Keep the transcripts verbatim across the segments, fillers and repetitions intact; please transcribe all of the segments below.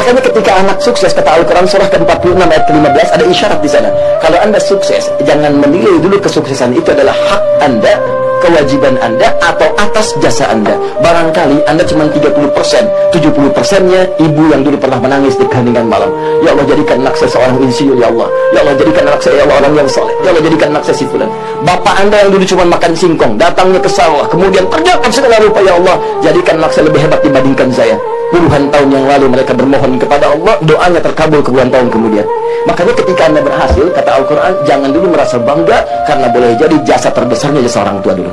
Makanya ketika anak sukses, kata Al-Quran surah ke empat puluh enam ayat ke lima belas, ada isyarat di sana. Kalau anda sukses, jangan menilai dulu kesuksesan itu adalah hak anda, kewajiban anda, atau atas jasa anda. Barangkali anda cuma tiga puluh persen, tujuh puluh persennya ibu yang dulu pernah menangis di keheningan malam. Ya Allah, jadikan anak saya seorang insinyur, ya Allah. Ya Allah, jadikan anak saya, ya Allah, orang yang soleh. Ya Allah, jadikan anak saya si fulan. Bapak anda yang dulu cuma makan singkong, datangnya ke sawah, kemudian kerjakan segala rupa, ya Allah, jadikan anak saya lebih hebat dibandingkan saya. Puluhan tahun yang lalu mereka bermohon kepada Allah, doanya terkabul puluhan tahun kemudian. Makanya ketika anda berhasil, kata Al-Quran, jangan dulu merasa bangga, karena boleh jadi jasa terbesarnya jasa orang tua dulu.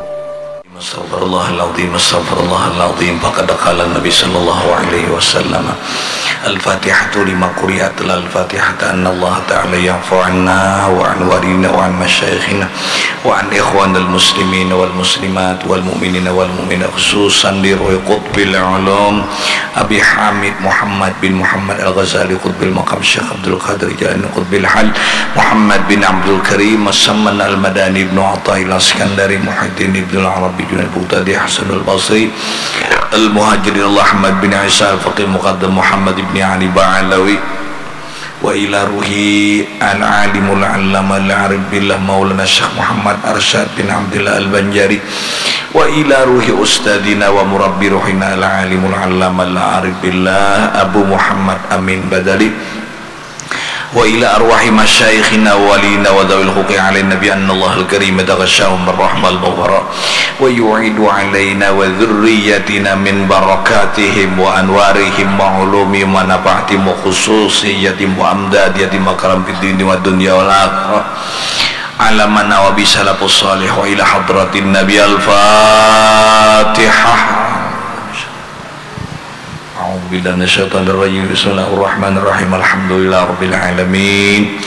Astaghfirullahaladzim, astaghfirullahaladzim. Faqad qala Nabi sallallahu alaihi wasallam, Al-Fatihatu lima quri'at, la Al-Fatihata anna Allah Ta'ala ya'fu anna wa an walidina wa an masyayikhina wa an ikhwanil muslimin wal muslimat wal mu'minina wal mu'minat, khususan di Ruhi Qutbil Ulum Abi Hamid Muhammad bin Muhammad Al-Ghazali Qutbil Maqam, Syekh Abdul Qadir Jailani Qutbil Hal, Muhammad bin Abdul Karim As-Samman Al-Madani, Ibnu Athaillah Iskandari, Muhyiddin Ibnul Arabi Junaid, Bughtadi Hasanul Basri, Al-Muhajirin, Ahmad bin Isa Al-Faqih Muqaddam, Muhammad ibni Ali Ba'alawi, wa ila ruhi al-alimul allama al-arif billah Maulana Syekh Muhammad Arsyad bin Abdillah Al-Banjari, wa ila ruhi ustadina wa murabbi ruhina al-alimul allama al-arif billah Abu Muhammad Amin Badali, wa ila arwahi masyayikhina wa waliyina wa dzawil huquqi alaina bi anna Allahal Karim yataghashahum bir rahmah wal maghfirah, wa yu'idu alaina wa dzurriyyatina min barakatihim wa anwarihim wa ulumihim wa nafahatihim wa khususiyatihim wa amdadiyatihim wa karam fid dini wad dunya wal akhirah. Ala man nawa bi salafus salih wa ila hadratin Nabi. Al-Fatihah. A'udzu billahi minasyaitonir rajim. Bismillahirrahmanirrahim. Alhamdulillahirabbil alamin.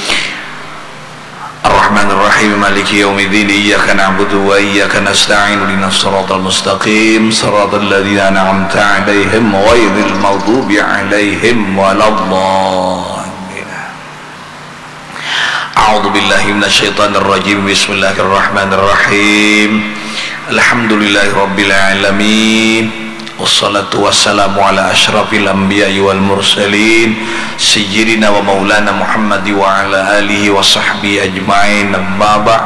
Arrahmanirrahim. Maliki yaumiddin. Iyyaka na'budu wa iyyaka nasta'in. Ihdinas siratal mustaqim. Siratal ladzina an'amta 'alaihim ghairil maghdubi 'alaihim waladdallin. A'udzu billahi minasyaitonir rajim. Bismillahirrahmanirrahim. Alhamdulillahirabbil alamin. Wassalatu wassalamu ala asyrafil anbiya'i wal mursalin, sayyidina wa maulana Muhammad wa ala alihi wa sahbihi ajmain. Amma ba'd.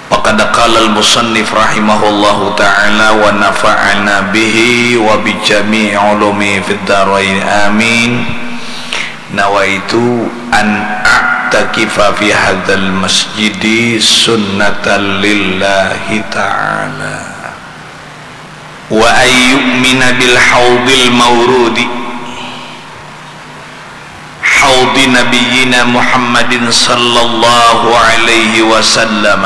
Faqad qala al-musannif rahimahullahu ta'ala wa nafa'ana bihi wa bi jami'i ulumi fid darain, amin. Nawaitu an a'takifa fi hadzal masjidi sunnatan lillahi ta'ala, wa an yu'mina bil haudil maurudi, haudi nabiyyina Muhammadin sallallahu alaihi wasallam,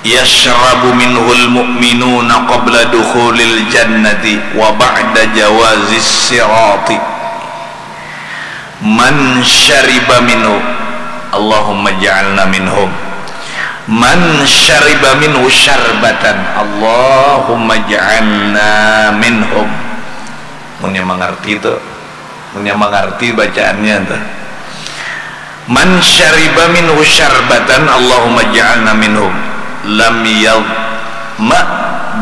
yashrabu minhul mu'minuna qabla dukhulil jannati wa ba'da jawazis sirati. Man syariba minhu, Allahumma ja'alna minhum. Man syariba minhu syarbatan, Allahumma ja'alna minhum. Mun yang mangarti tu, mun yang mangarti bacaannya tu. Man syariba minhu syarbatan, Allahumma ja'alna minhum, lam yadhma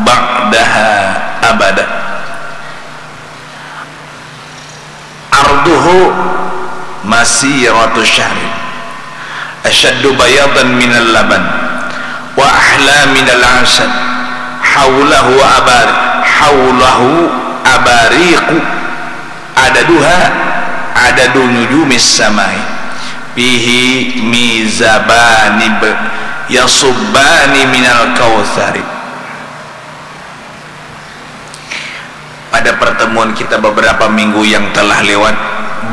ba'daha abada. Arduhu masiratu syahrin, asyaddu bayadan minal laban, wa ahla minal asal, haulahu abar, haulahu abariqu, adaduha adadu nujumis samai, fihi mizabani b-, yasubbani minal kautsari. Pada pertemuan kita beberapa minggu yang telah lewat,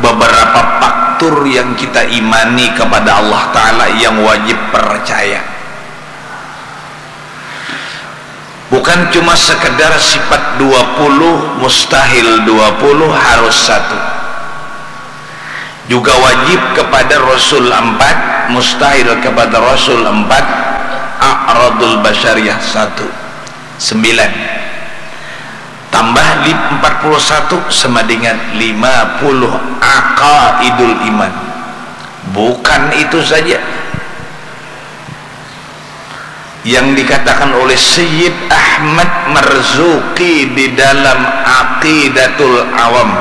beberapa faktor yang kita imani kepada Allah Ta'ala yang wajib percaya. Bukan cuma sekedar sifat dua puluh, mustahil dua puluh, harus satu. Juga wajib kepada Rasul empat, mustahil kepada Rasul empat, a'radul basyariyah satu. Sembilan. Tambah lip empat puluh satu sama dengan lima puluh aqaidul iman. Bukan itu saja. Yang dikatakan oleh Sayyid Ahmad Marzuki di dalam Aqidatul Awam.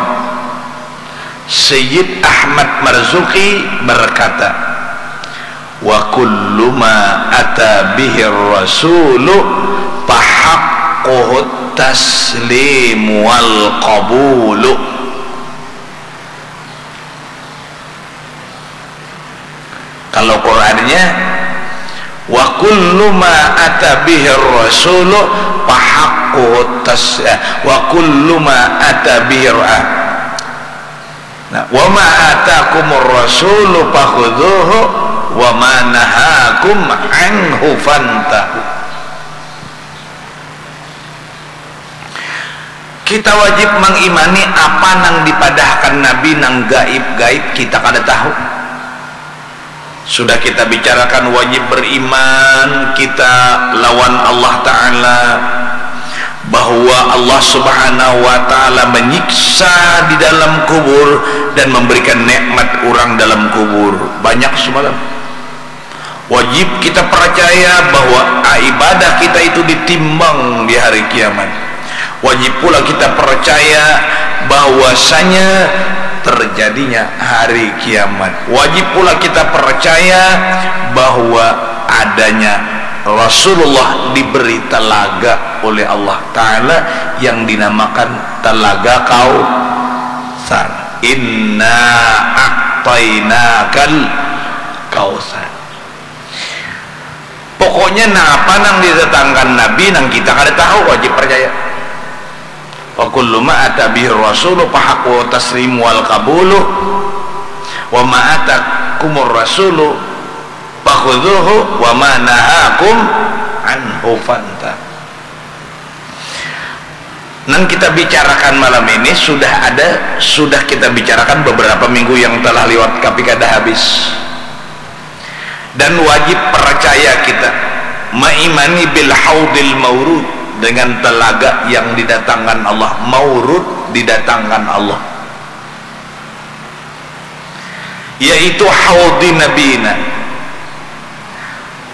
Sayyid Ahmad Marzuki berkata, "Wa kullu ma ata bihir rasulu fahaqquhut taslim wal qabulu." Kalau Qur'annya, "Wa kullu ma ata bihir rasulu fahaqquhu tas-, eh, wa kullu ma ata bihir, ah. Nah, wa ma atakumur rasulu fakhudhuhu wa ma nahakum anhu fantahu." Kita wajib mangimani apa nang dipadahkan Nabi nang gaib-gaib kita kada tahu. Sudah kita bicarakan wajib beriman kita lawan Allah Ta'ala, bahwa Allah Subhanahu wa Ta'ala menyiksa di dalam kubur dan memberikan nikmat orang dalam kubur. Banyak semalam. Wajib kita percaya bahwa ibadah kita itu ditimbang di hari kiamat. Wajib pula kita percaya bahwasanya terjadinya hari kiamat. Wajib pula kita percaya bahwa adanya Rasulullah diberi telaga oleh Allah Ta'ala yang dinamakan Telaga Kautsar. Inna a'tainakal kautsar. Pokoknya napa nang didatangkan Nabi nang kita kada tahu, wajib percaya. Wa kullu ma ata bihi rasulu fahaqquhu taslimu wal qabulu, wa ma atakumur rasulu fakhudhuhu, wa ma nahakum anhu fanta. Nang kita bicarakan malam ini sudah ada, sudah kita bicarakan beberapa minggu yang telah lewat, tapi kada habis. Dan wajib percaya kita, maimani bil haudil maurud, dengan telaga yang didatangkan Allah, maurud didatangkan Allah, yaitu haudi nabina,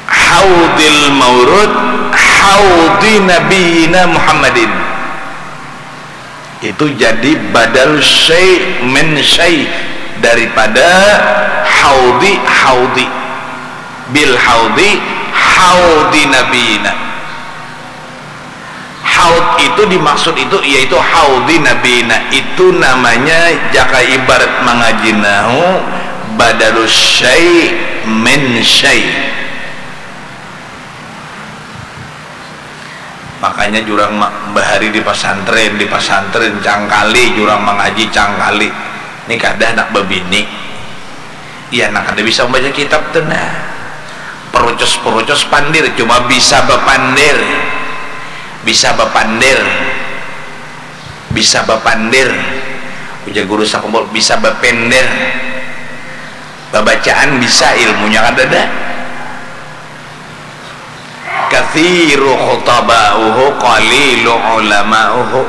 haudil maurud, haudi nabina Muhammadin. Itu jadi badal syai' min syai' daripada haudi, haudi. Bil haudi, haudi nabina. Haud itu dimaksud itu yaitu haudi nabina. Itu namanya jaka ibarat mangaji nahu badalus syai' min syai'. Makanya jurang ma-, bahari di pasantren, di pasantren cangkali, jurang mangaji cangkali. Ni kada handak babini. Iya, nah kada bisa mambaca kitab tu nah. Perucus-perucus pandir, cuma bisa bapandir. Bisa bapandir. Bisa bapandir. Ujar guru sakumpul, bisa bapender. Babacaan bisa, ilmunya kadada. Kathiru khutaba'uhu qalilu ulama'uhu.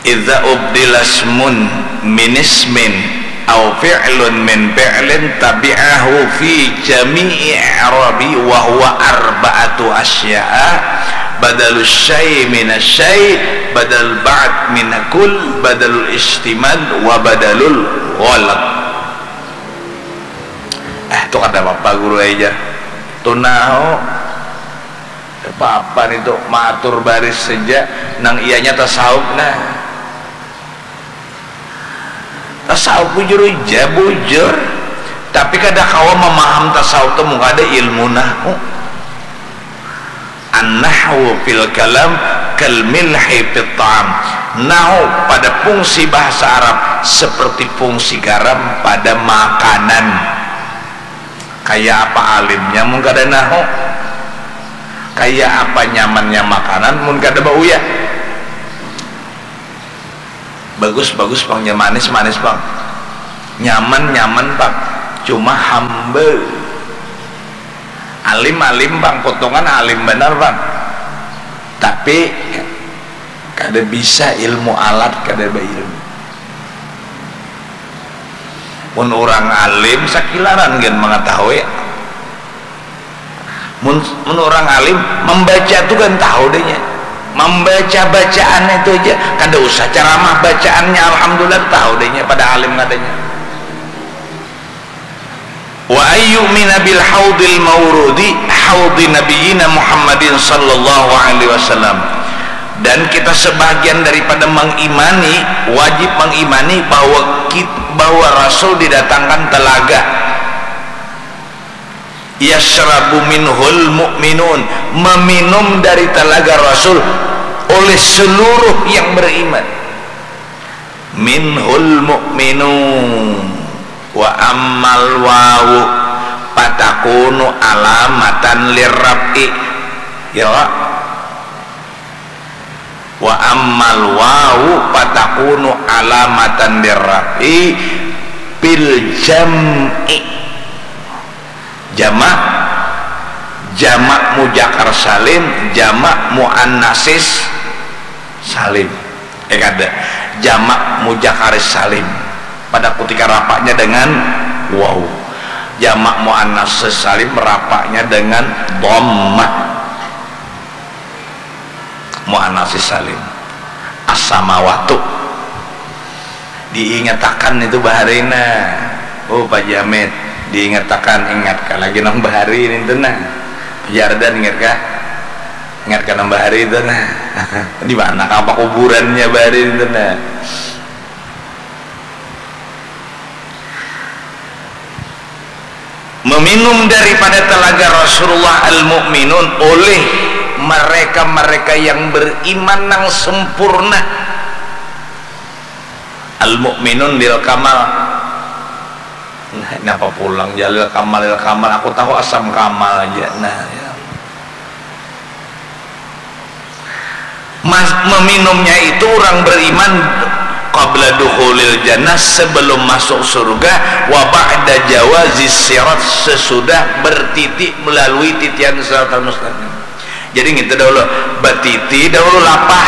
Idza ubdila ismun min ismin au fi'lun min fi'lin tabi'ahu fi jami'i i'rabi wa huwa arba'atu asya'a, badalus syai' min asy-syai', badal ba'd min kull, badalul istimal, wa badalul ghalab. Eh, tu kada apa-apa guru ai jar. Tu nahu. Apa-apa nitu, maatur baris saja, nang iyanya tasawuf nah. Tasawuf bujur ja, bujur. Tapi kada kawa mamaham tasawuf tu mun kada ilmu nahwu. An-nahwu fil kalam kal milhi fit ta'am. Nahwu pada fungsi bahasa Arab seperti fungsi garam pada makanan. Kaya apa alimnya mun kada nahwu? Kaya apa nyamannya makanan mun kada bauyah? Bagus, bagus pang, nya manis, manis pang. Nyaman, nyaman pang. Cuma hamba. Alim, alim pang, potongan alim banar pang. Tapi kada bisa ilmu alat, kada bailmu. Mun urang alim sakilaran gin mangatahui. Mun, mun urang alim mambaca tu kan tahu deh nya. Mambaca bacaan itu aja, kada usah caramah, bacaannya alhamdulillah tahu deh nya pada alim kadanya. Wa ayyumina bil haudil maurudi haudi nabiyina Muhammadin sallallahu alaihi wasallam. Dan kita sebahagian daripada mengimani, wajib mengimani bahwa kit-, bahwa Rasul didatangkan telaga. Yashrabu minhul mu'minun, meminum dari telaga Rasul oleh seluruh yang beriman. Minhul mu'minun. Wa ammal wawu patakunu alamatan lirraf'i. Ya, Pak? Wa ammal wawu patakunu alamatan lirraf'i bil jam'i. Jamak, jamak muzakkar salim, jamak muannasis salim. Eh, kada. Jamak muzakkaris salim pada kutika rafa'nya dengan waw. Jamak muannasis salim rafa'nya dengan dhammah. Muannasis salim. As-samawatu. Diingatakan itu bahari nah. Oh, Pak Jamit, diingatakan, ingatkah lagi nang bahari nintu nah. Pak Jardan, ingatkah? Ingatkah nang bahari itu nah. Di mana kah pakuburannya bahari nintu nah. Meminum daripada telaga Rasulullah al-mu'minun oleh mereka-mereka yang beriman nang sempurna. Al-mu'minun lil kamal. Nah, napa pulang jalil kamal lil kamal? Aku tahu asam kamal aja. Nah, ya. Mas, meminumnya itu orang beriman qabla dukhulil jannah, sebelum masuk surga, wa ba'da jawazis sirat, sesudah bertiti melalui titian siratal mustaqim. Jadi ngintu dahulu, batiti dahulu lapah,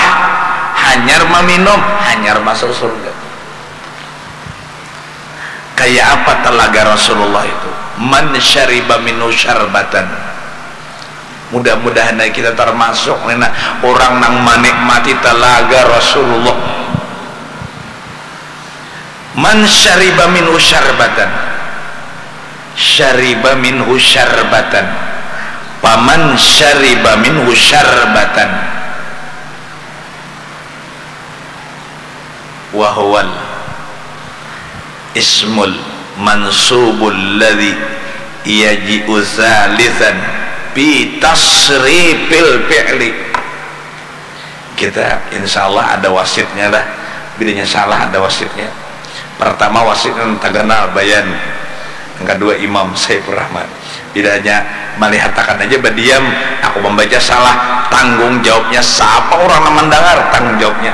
hanyar maminum, hanyar masuk surga. Kaya apa talaga Rasulullah itu? Man syariba minhu syarbatan. Mudah-mudahan ai kita tarmasuk ni nah, urang nang manikmati talaga Rasulullah. Man syariba minhu syarbatan, syariba minhu syarbatan, paman syariba minhu syarbatan, wa huwal ismul mansubul ladzi yaji'u tsalitsan fi tasrifil fi'li. Kita insya Allah ada wasitnya lah. Bilanya salah ada wasitnya. Pertama wasitnya taganal Bayan, yang kedua Imam Saifur Rahman. Bilanya malihatakan aja badiam, aku membaca salah, tanggung jawabnya siapa orang yang mendengar, tanggung jawabnya.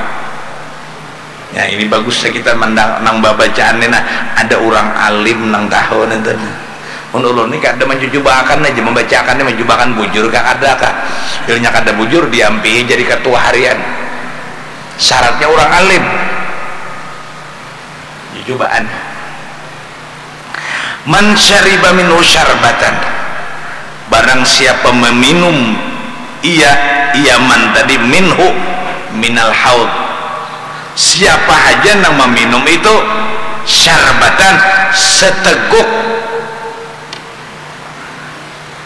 Ya, ini bagusnya kita mandang nang babacaan ni nah, ada urang alim nang tahu nintu nah. Mun ulun ni kada manjujubaakan aja, mambacaakan ni manjubaakan bujur kah kada kah. Bilanya kada bujur, diampihi jadi katua harian. Syaratnya urang alim. Jujubaan. Man syariba minhu syarbatan, barang siapa meminum ia, ia man tadi, minhu, minal haud, siapa haja nang meminum itu, syarbatan, seteguk,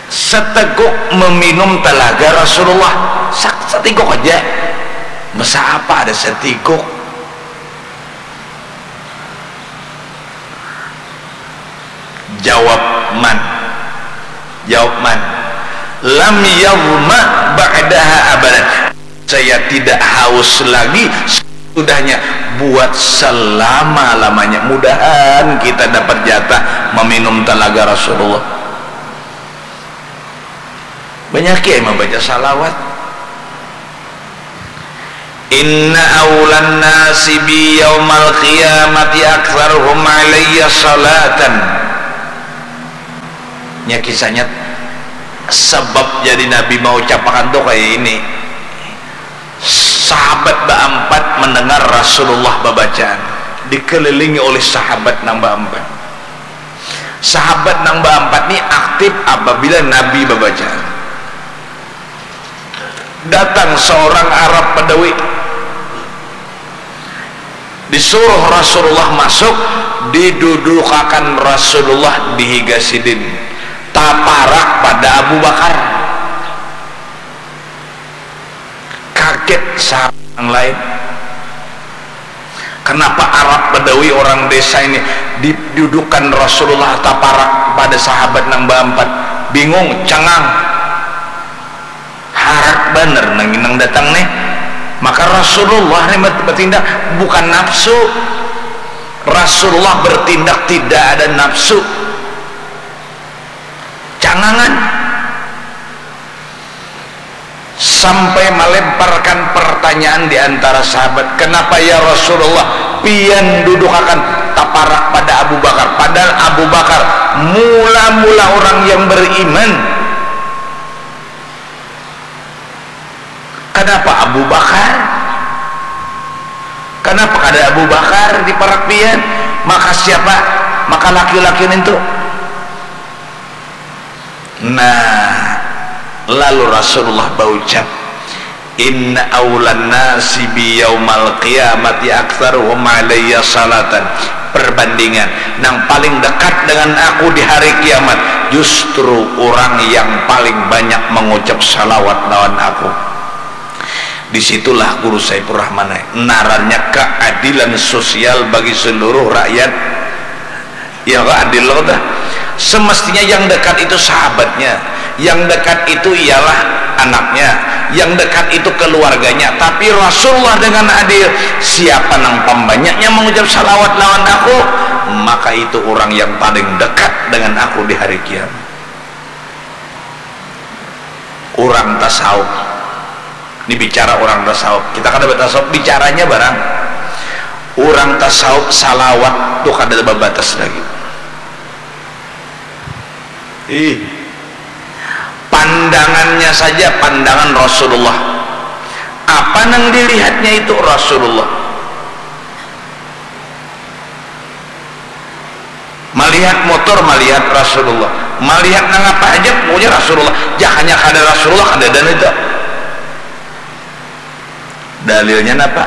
seteguk meminum talaga Rasulullah, sa-, seteguk aja, masa apa ada seteguk. Jawab man. Jawab man. Lam yadhma ba'daha abadan. Saya tidak haus lagi sesudahnya buat selama-lamanya. Mudahan kita dapat jatah meminum talaga Rasulullah. Banyak ya membaca salawat. Inna awlan nasi bi yaumal qiyamati aktsaruhum alayya salatan. Nya kisahnya, sebab jadi Nabi maucapakan tuh kayak ini. Sahabat baampat mendengar Rasulullah babacaan, dikelilingi oleh sahabat nang baampat. Sahabat nang baampat ni aktif apabila Nabi babaca. Datang seorang Arab Badawi, disuruh Rasulullah masuk, didudukakan Rasulullah di higa sidin, taparak pada Abu Bakar. Kaget sahabat yang lain. Kenapa Arab Badawi orang desa ini didudukan Rasulullah taparak pada sahabat nang baampat? Bingung, cengang. Harat banar nang inang datang nih. Maka Rasulullah nih bertindak bukan nafsu. Rasulullah bertindak tidak ada nafsu. Cangangan. Sampai melemparkan pertanyaan di antara sahabat, "Kenapa ya Rasulullah, pian dudukakan taparak pada Abu Bakar?" Padahal Abu Bakar mula-mula orang yang beriman. Kenapa Abu Bakar? Kenapa kada Abu Bakar diparak pian? Maka siapa? Maka laki-laki nintu. Nah, lalu Rasulullah baucap, "Inna awlan nasi bi yaumal qiyamati aktsaruhum alayya salatan." Perbandingan, nang paling dekat dengan aku di hari kiamat justru orang yang paling banyak mengucap salawat lawan aku. Disitulah Guru Saifur Rahman, eh, narannya keadilan sosial bagi seluruh rakyat. Ya, kok adil lo dah. Semestinya yang dekat itu sahabatnya, yang dekat itu ialah anaknya, yang dekat itu keluarganya. Tapi Rasulullah dengan adil, siapa nang pambanyaknya mengucap salawat lawan aku, maka itu orang yang paling dekat dengan aku di hari kiamat. Orang tasawuf. Ini bicara orang tasawuf. Kita kada bertasawuf, bicaranya barang. Orang tasawuf salawat tuh kada babatas lagi. Ih. Pandangannya saja pandangan Rasulullah. Apa nang dilihatnya itu Rasulullah. Malihat motor, malihat Rasulullah. Malihat nang apa haja, pokoknya Rasulullah. Jakanya kada Rasulullah, kada ada itu. Dalilnya napa?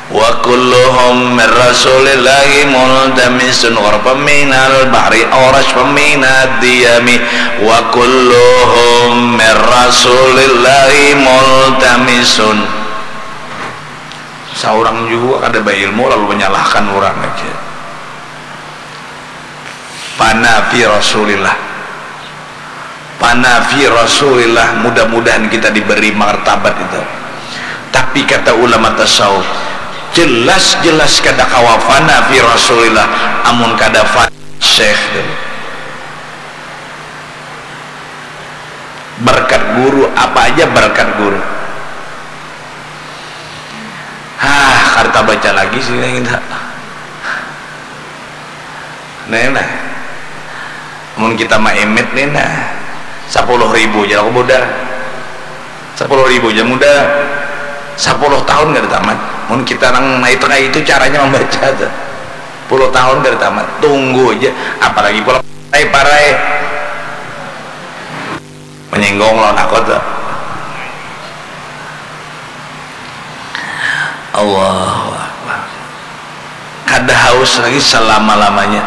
Wa kulluhum min Rasulillahi multamisun, ghurfan minal bahri, awrashfan minad diyami, wa kulluhum min Rasulillahi multamisun. Saurang jua kada bailmu lalu manyalahkan urang aja. Panafi Rasulillah. Panafi Rasulillah, mudah-mudahan kita diberi martabat itu. Tapi kata ulama tasawuf, jelas-jelas kada kawa fanafi Rasulillah amun kada fanafi Syekh. Berkat guru, apa aja berkat guru. Hah, kada tabaca lagi sini kita. Nah, nah. Mun kita maemit nih, nah, sepuluh ribu aja aku modal. Sepuluh ribu aja modal. Sepuluh tahun kada tamat. Mun kita nang itu, kayak itu caranya membaca tuh. Sepuluh tahun kada tamat. Tunggu aja. Apalagi pula parai-parai. Menyinggung lawan aku tuh. Allahu Akbar. Kada haus lagi selama-lamanya.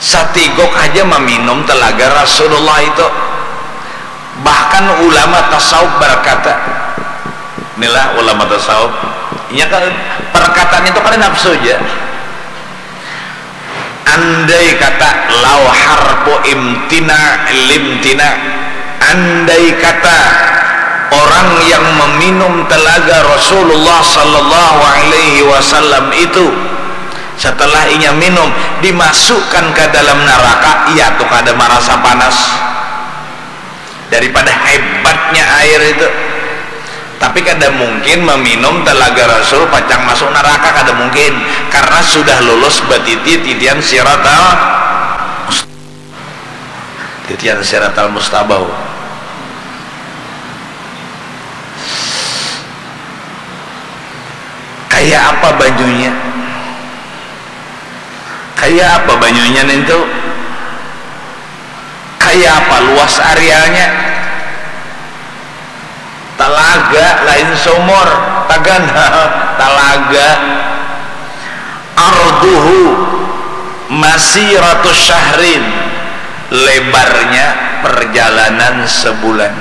Satiguk aja meminum telaga Rasulullah itu. Bahkan ulama tasawuf berkata, inilah ulama tasawuf, inya kan perkataan itu kada nafsu aja. Andai kata, lau harfu imtina limtina, andai kata orang yang meminum telaga Rasulullah sallallahu alaihi wasallam itu, setelah inya minum, dimasukkan ke dalam neraka, ia tuh kada merasa panas. Daripada hebatnya air itu. Tapi kada mungkin meminum telaga Rasul pacang masuk neraka, kada mungkin, karena sudah lulus batiti titian siratal mustaqim. Titian siratal mustabau. Kayak apa banyunya? Kaya apa banyunya nintu? Kaya apa luas areanya? Talaga, lain sumur, tagan, talaga. Arduhu masiratu syahrin, lebarnya perjalanan sebulan.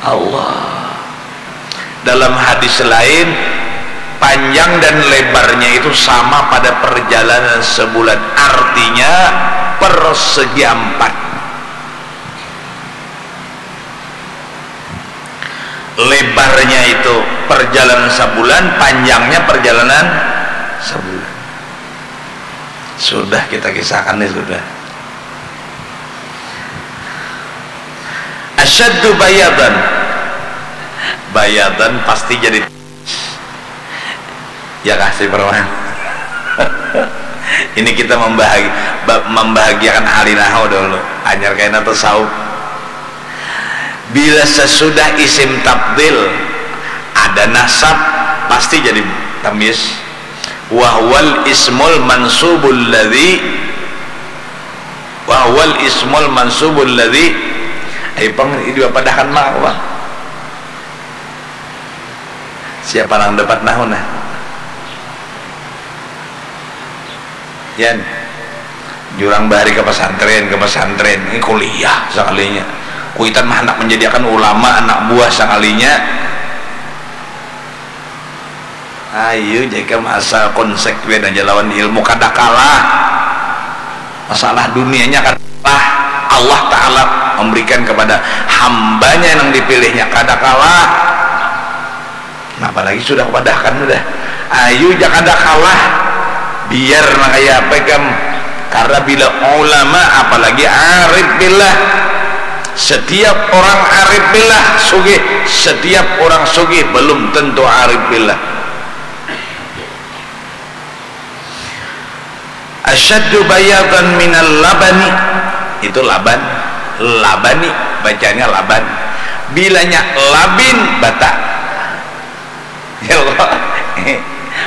Allah. Dalam hadis lain, panjang dan lebarnya itu sama pada perjalanan sebulan, artinya persegi empat. Lebarnya itu perjalanan sebulan, panjangnya perjalanan sebulan. Sudah kita kisahkan nih, sudah. Asyaddu bayadan. Bayadan pasti jadi, ya kasih perman. Ini kita membahagi-, ba-, membahagiakan alinaho dulu. Anyar kaina tasawuf. Bila sesudah isim tabdil ada nasab, pasti jadi tamyiz. Wahwal ismul mansubul ladzi, wahwal ismul mansubul ladzi. Ayo pang, dua padahan mah apa? Siapa nang dapat nahu nah? Yan, jurang bahari ke pesantren, ke pesantren, ini kuliah sekalinya. Kuitan mah anak menjadikan ulama, anak buah sekalinya. Ayo, jaga masa konsekuen aja lawan ilmu, kada kalah. Masalah dunianya kada kalah. Allah Ta'ala memberikan kepada hambanya yang dipilihnya, kada kalah. Nah, apalagi sudah padahkan sudah. Ayu ja kada kalah. Biar nang kaya apa ikam. Karena bila ulama, apalagi arif billah, setiap orang arif billah sugih, setiap orang sugih belum tentu arif billah. Asyaddu bayadan minal labani. Itu laban. Labani, bacanya laban. Bilanya labin, bata. Ya Allah.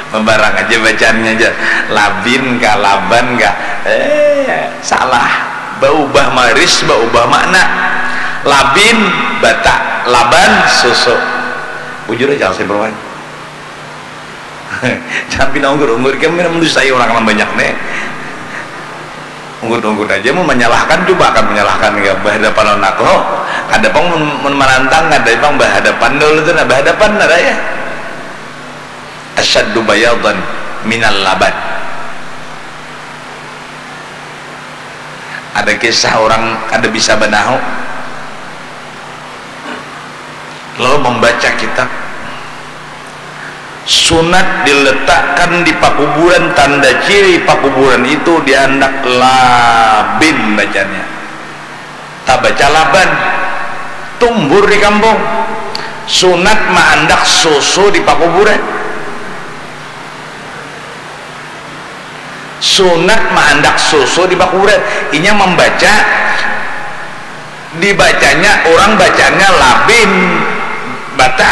Membarang aja bacaannya aja. Labin kah, laban kah? Eh, salah. Baubah baris, baubah makna. Labin, bata. Laban, susu. Bujur aja, saya bermain. Jangan pina unggur-unggur, ikam pina mendustai urang nang banyak ne. Unggut-unggut aja, mun manyalahkan, cuba akan manyalahkan ka bahadapan lawan aku. Kada pang mun, mun manantang, kada pang bahadapan dahulu tu nah, bahadapan nah raya. Asyaddu bayadan minal laban. Ada kisah urang kada bisa banahu, lalu mambaca kitab. Sunat diletakkan di pakuburan, tanda ciri pakuburan itu diandak labin bacanya. Tabaca laban, tumbur di kampung. Sunat maandak susu di pakuburan. Sunat maandak susu di pakuburan. Inya mambaca, dibacanya, urang bacanya labin, bata,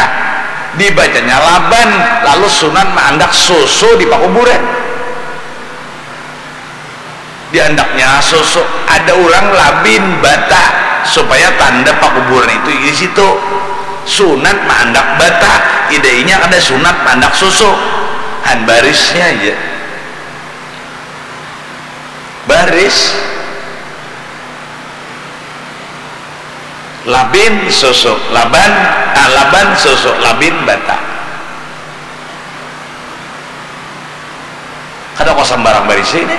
dibacanya laban, lalu sunat maandak susu di pakuburan. Diandaknya susu, ada urang labin, bata, supaya tanda pakuburan itu di situ. Sunat maandak bata, idainya kada sunat maandak susu. Han barisnya aja. Baris. Labin susu, laban, ah, laban susu, labin bata. Kada kok sambarang barisi ni.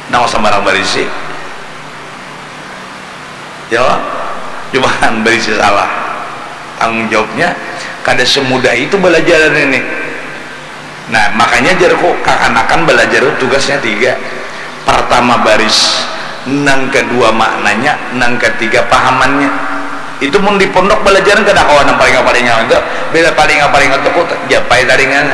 Kada kok sambarang barisi. Ya, cuma kan barisi salah. Tanggung jawabnya kada semudah itu balajaran ini. Nah, makanya jarku kakanakan balajar tu tugasnya tiga. Pertama baris, nang kedua maknanya, nang ketiga pahamannya. Itu mun di pondok balajaran kada kawa nang paling-paling itu. Bila paling-paling itu ku japai taringan.